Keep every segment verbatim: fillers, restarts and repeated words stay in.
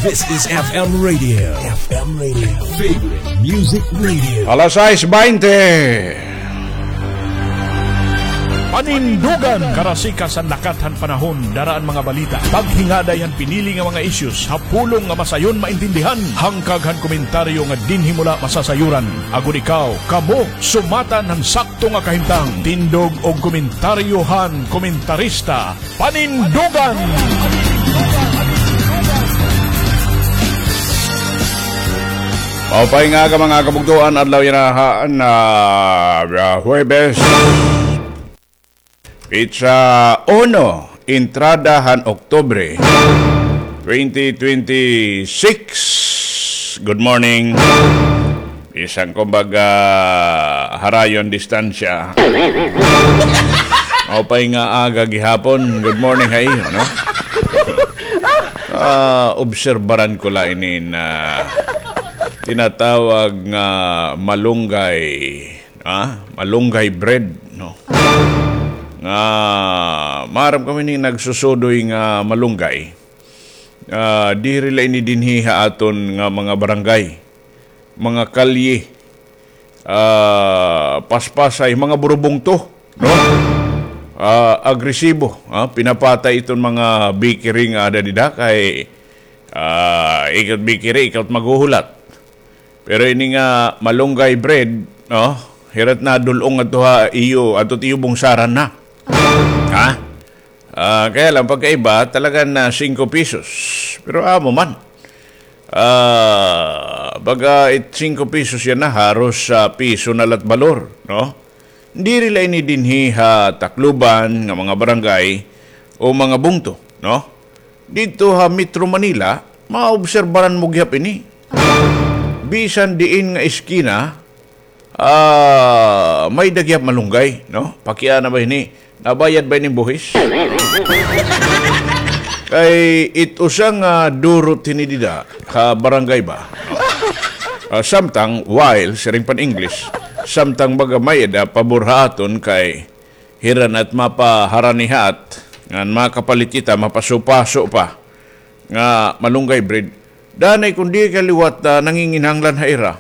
This is F M Radio. F M Radio. Favorite Music Radio. Alas sais baynte. Panindugan, karasika san lakat han panahon, dara an mga balita, paghingaday han pinili nga mga issues ha pulong nga masayon maintindihan, hangkag han komentaryo nga dinhi mo la masasayuran, agod ikaw, kamo, sumatan han sakto nga kahimtang. Tindog og komentaryo han komentarista. Panindugan! Maupay nga aga, mga kabugtoan, adlaw yana han, ah, ah, Huwebes, petsa uno, entrada han Oktubre, twenty twenty-six. Good morning. Bisan kumbaga harayo an distansya. Maupay nga aga gihapon. Good morning ha iyo, no? Ah, obserbaran ko la ini nga tinatawag nga malunggay, ah, malunggay bread, no? Nga maaram kami ni nagsusudoy nga malunggay. Ah, diri la ini dinhi ha aton nga mga barangay, mga kalye, ah, paspasay, mga burubungto, no? Ah, agresibo, ah, pinapatay iton mga bakery nga ada dida kay, ah, ikaw bakery, ikaw maghuhulat. Pero ini nga malunggay bread, no? Hira it nadul-ong adto ha iyo, adto iyo bungsaran na. Ha? Ah, kaya lang, pagkaiba, talaga na singko pesos. Pero amo man. Ah, baga it singko pesos yana, haros sa piso na la it balor, no? Diri la ini dinhi ha Tacloban nga mga barangay o mga bungto, no? Didto ha Metro Manila, maobserbaran mo gihap ini. Bisan diin nga eskina, ah, may-ada gihap malunggay, no? Pakiana ba ini? Nabayad ba ini buhis? Kay it usa nga durot hini dida ha barangay ba? Ah, samtang, while, siring pan English, samtang baga may-ada pabor ha aton kay hira na it mapaharanihat, ngan makapalit kita, mapasupaso pa nga malunggay bread. Danay kon diri ka liwat, ah, nanginginahanglan ha ira,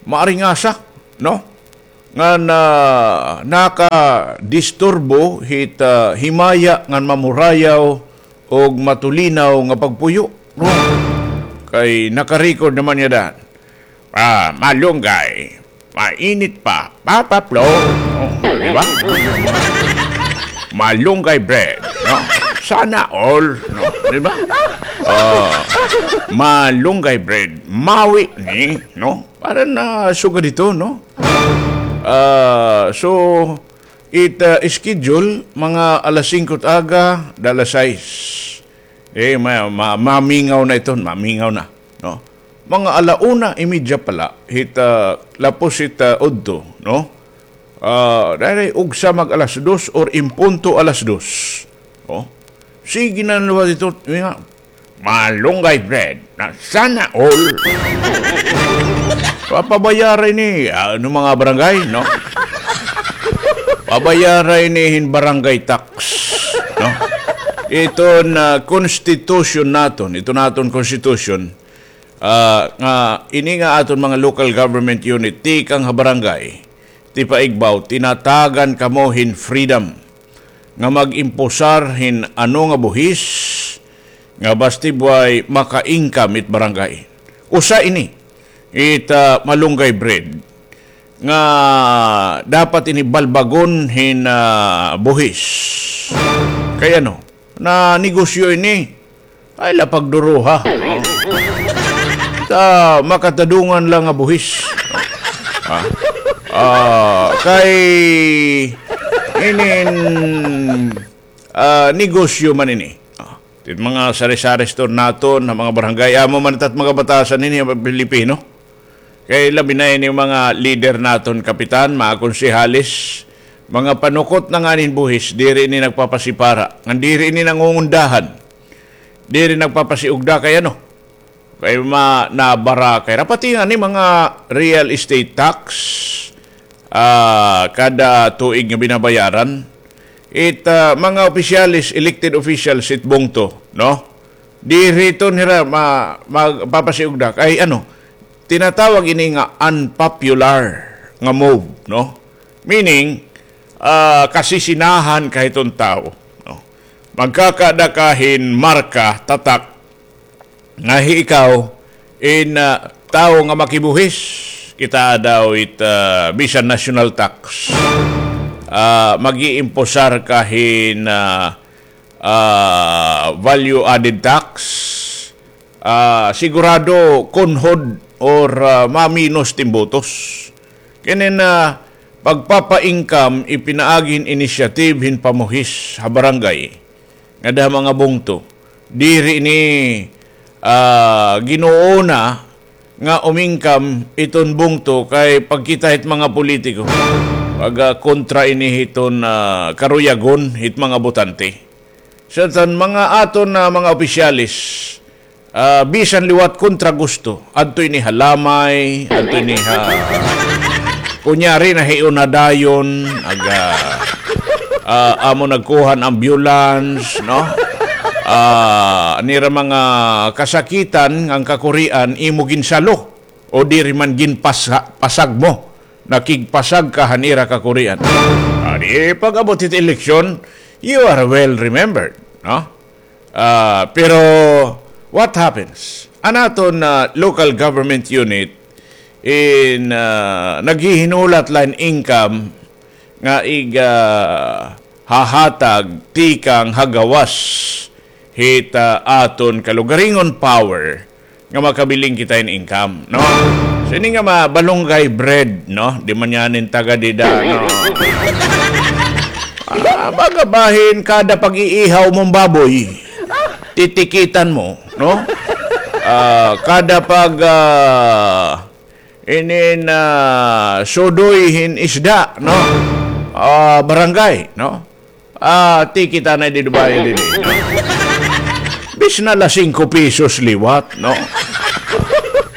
maaringasa, no? Ngan, ah, nakadisturbo hit, ah, himaya ngan mamurayaw og matulinaw nga pagpuyo, no? Kay naka-record naman niya dan. Ah, malunggay. Mainit pa. Papa Flo. Oh, di ba? Malunggay bread, no? Sana all, no? Di ba? Ah, malunggay bread. Mawi ni, no? Para na sugad ito, no? Ah, so, it, ah, schedule, mga alas singko it aga, da alas sais. Eh, ma-, ma-, mamingaw na iton, mamingaw na, no? Mga ala una y media pa la, hit, ah, lapos hit, ah, udto, no? Ah, diri, ugsa mag alas dos or in punto alas dos. Oh. Sige na liwat ito, nga, malunggay bread, na sana all. Papabayara ini, ano, mga barangay, no? Pabayara ini hin barangay tax, no? Iton constitution naton, iton aton constitution, ah, nga ini nga aton mga local government unit, tikang ha barangay, tipaigbaw, tinatagan kamo hin freedom nga mag-imposar hin ano nga buhis nga basti buhay maka-income it barangay. Usa ini, it, ah, malunggay bread nga dapat ini balbagon hin, ah, buhis. Kay ano, na negosyo ini, ay, la pagduruha. Sa makatadungan la nga buhis. Ah. Ah, kay inin, ah, negosyo man ini. Ah, it mga sari-sari store naton, ha mga barangay, amo man it mga batasan ini, mga Pilipino. Kay labi na ini mga lider naton, kapitan, mga konsehalis, mga panukot na ngani hin buhis, diri ini nagpapasipara, ngan diri ini nangungundahan, diri nagpapasiugda kay ano, kay ma-, nabarakay. Dapat ini mga real estate tax, ah, kada tuig nga binabayaran, it, ah, mga opisyales, elected officials, it bungto, no? Diri iton hira ma-, magpapasiugda. Kay ano, tinatawag ini nga unpopular nga move, no? Meaning, ah, kasisinahan ka hiton tawo, no? Magkakada ka hin marka, tatak, nga hi ikaw in, ah, tawo nga makibuhis, kita daw it, ah, bisan national tax. Ah, mag-iimposar ka hin, ah, ah, value added tax. Ah, sigurado kunhod or, ah, maminos it im botos. Kinin, ah, pagpapa-income ipinaagi hin initiative hin pamuhis ha barangay ngada ha mga bungto. Diri ini, ah, ginuuna nga umingkam iton bungto kay pagkita hit mga politiko. Pag, ah, kontra ini hiton, ah, karuyagon hit mga botante. Sa tan mga aton nga mga opisyales, ah, bisan liwat kontra gusto, adto ini ha lamay, adto ini ha, kunyari, nahiuna dayon, aga, ah, amo nagkuha hin ambulance, no? Ah, an ira mga kasakitan ngan kakurian, imo ginsalo o diri man ginpasa-, pasag mo, nakigpasag ka han ira kakurian. Ah, di pag-abot hit eleksyon, you are well remembered, no? Ah, pero what happens? An aton, ah, local government unit in, ah, naghihinulat la hin income nga ig, ah, hahatag tikang ha gawas hit, ah, aton kalugaringon power nga makabiling kita hin income, no? So, ini nga ma-, malunggay bread, no? Di man yana hin taga dida, no? Ah, baga bahin kada pag-iihaw mo hin baboy, titikitan mo, no? Ah, kada pag, ah, inin, ah, sudoy hin isda, no? Ah, barangay, no? Ah, tikit anay didi, bayan didi. Bisan la singko pesos liwat, no?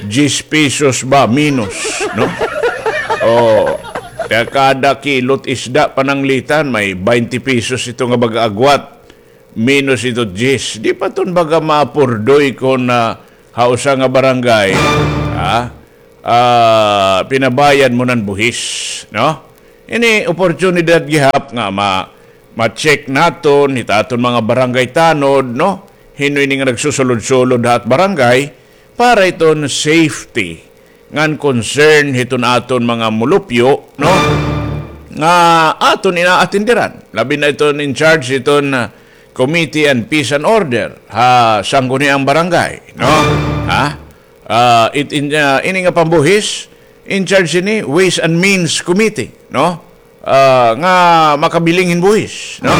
Diyes pesos ba, menos, no? Oh, kay kada kilot isda pananglitan, may baynte pesos ito nga baga agwat. Menos ito diyes. Di pa iton baga maapurdoy kon, ah, ha usa nga barangay, ha? Ah, pinabayad mo nan buhis, no? Ini oportunidad gihap nga ma-, ma-check naton hit aton mga barangay tanod, no? Hin-o ini nga nagsusulod-sulod ha at barangay para iton safety ngan concern hiton aton mga mulupyo, no? Nga aton inaatindiran. Labi na iton in charge hiton, ah, Committee on Peace and Order ha sangguniang barangay, no? Ha? Ah, it, in, ah, ini nga pambuhis, in charge ini, Ways and Means Committee, no? Ah, nga makabiling hin buhis, no?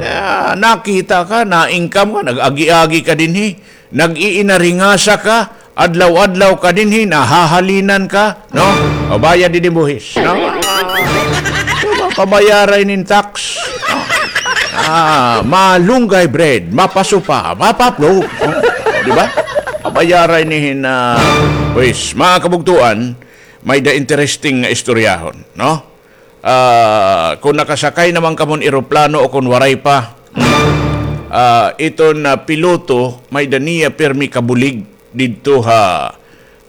Ah, nakita ka, na-income ka, nag-agi-agi ka dinhi, nag-iinaringasa ka, adlaw-adlaw ka dinhi, nahahalinan ka, no? Pabayad didi hin buhis, no? Diba? Pabayara ini hin tax, no? Ah, malunggay bread, mapasupa, mapaplo, no? Di ba? Pabayara ini hin, ah, buhis. Mga kabugtuan, may-ada interesting nga istoryahon, no? Ah, kon nakasakay na man kamo hin eroplano o kon waray pa, ah, iton, ah, piloto, may-ada niya pirmi kabulig didto ha,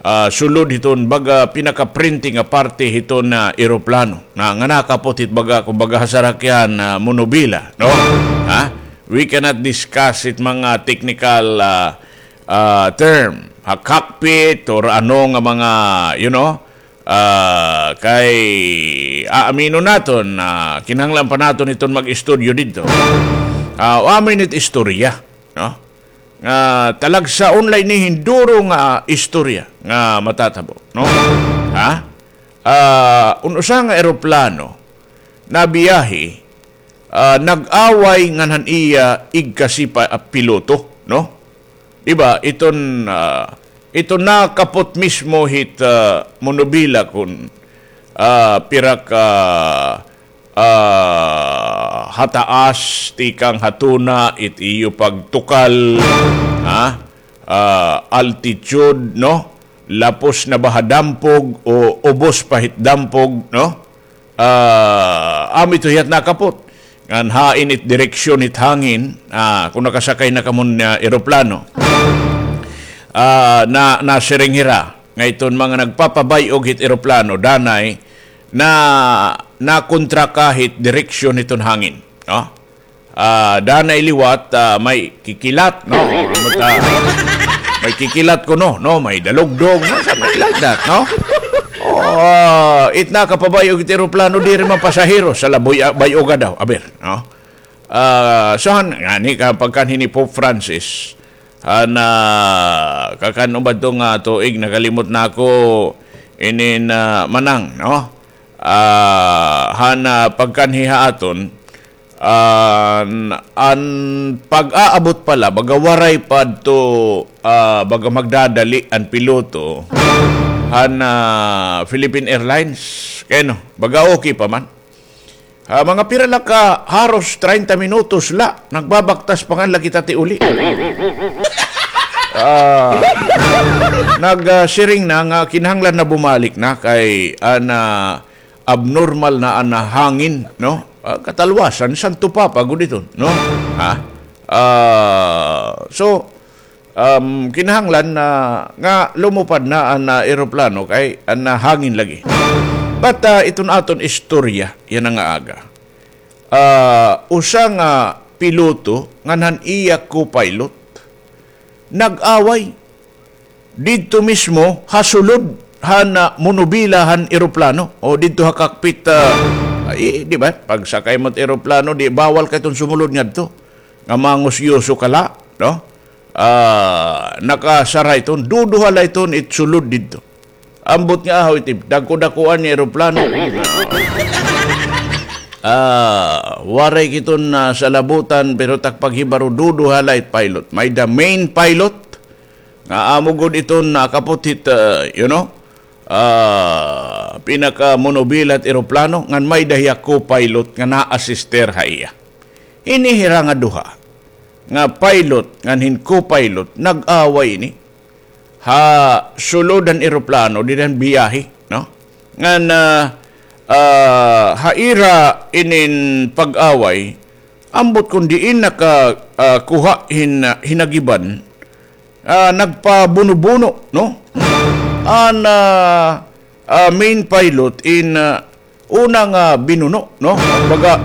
ah, sulod hiton baga pinakaprente nga parte hiton, ah, eroplano na, nga nakapot hit baga, kumbaga, ha sarakyan, ah, monobila, no? Ha? We cannot discuss it mga technical, ah, ah, term ha cockpit or ano nga mga, you know, ah, kay aaminon naton na kinahanglan pa naton iton mag-istudyo didto. Ah, wa man it istorya, no? Nga talagsaon la ini hin duro nga istorya nga matatabo, no? Ha? Ah, un usa nga eroplano nabiyahe, ah, nag-away ngan han iya igkasi pa, ah, piloto, no? Di ba? Iton, ah, iton nakapot mismo hit, ah, monobila kon, ah, pira ka, ah, hataas tikang ha tuna it iyo pagtukal, ha? Ah, altitude, no? Lapos na ba ha dampog o ubos pa hit dampog, no? Ah, amo ito hiya it nakapot. ngan hain it direksyon hit hangin, ah, kon nakasakay na kamo hin, ah, eroplano. Ah, na, nasiring hira nga iton mga nagpapabay-og hit eroplano, danay na, nakontra ka hit direksyon hiton hangin, no? Ah, danay liwat, ah, may kikilat, no? May kikilat kuno, no? May dalugdog, no? Something like that, no? Oh, ah, it nakapabay-og it eroplano, diri man pasahero, sala bay-, bay-oga daw, aber, no? Ah, so, han, ngani ka pagkanhi ni Pope Francis, han, ah, kakan-o ba ito nga tuig, nakalimot na ako, inin, ah, manang, no? Ah, han, ah, pagkanhi ha aton, an, an pag-aabot pala, baga waray pa adto, ah, baga magdadali an piloto han, ah, Philippine Airlines. Kay ano, baga okay pa man. Ah, mga pira la ka, haros treinta minutos la, nagbabaktas pa ngani la kita ti uli. Ah, nag, ah, siring na nga kinahanglan na bumalik na kay an, ah, abnormal na an hangin, no? Ah, katalwasan, Santo Papa gud iton, no? Ha? Ah, so, um, kinahanglan na nga lumupad na an, ah, eroplano kay an, ah, hangin lagi. But, ah, iton aton istorya yana nga aga. Ah, usa nga piloto ngan han iya co-pilot nag-away didto mismo ha sulod han, ah, monobila han eroplano o didto ha cockpit, ah, ay, di ba? Pagsakay mo hit eroplano, di bawal ka iton sumulod ngadto. Nga mangusyoso ka la, no? Ah, nakasara iton, duduha la iton it sulod didto. Ambot nga ahaw iti, dagko-dakoan nga eroplano. Ah, waray kiton, ah, salabutan, pero tak paghibaro duduha la it pilot. May-ada main pilot, nga amo gud iton nakaput hit, ah, you know, ah, pinakamonobila hit eroplano, ngan may-ada hiya co-pilot nga naa-assister ha iya. Ini hira nga duha, nga pilot ngan hin co-pilot, nag-away ini ha sulod han eroplano, dida han biyahe, no? Ngan, ah, ah, ha ira inin pag-away, ambot kon diin naka, ah, kuha hin, ah, hinagiban, ah, nagpabuno-buno, no? An, ah, ah, main pilot in, ah, una nga binuno, no? Baga,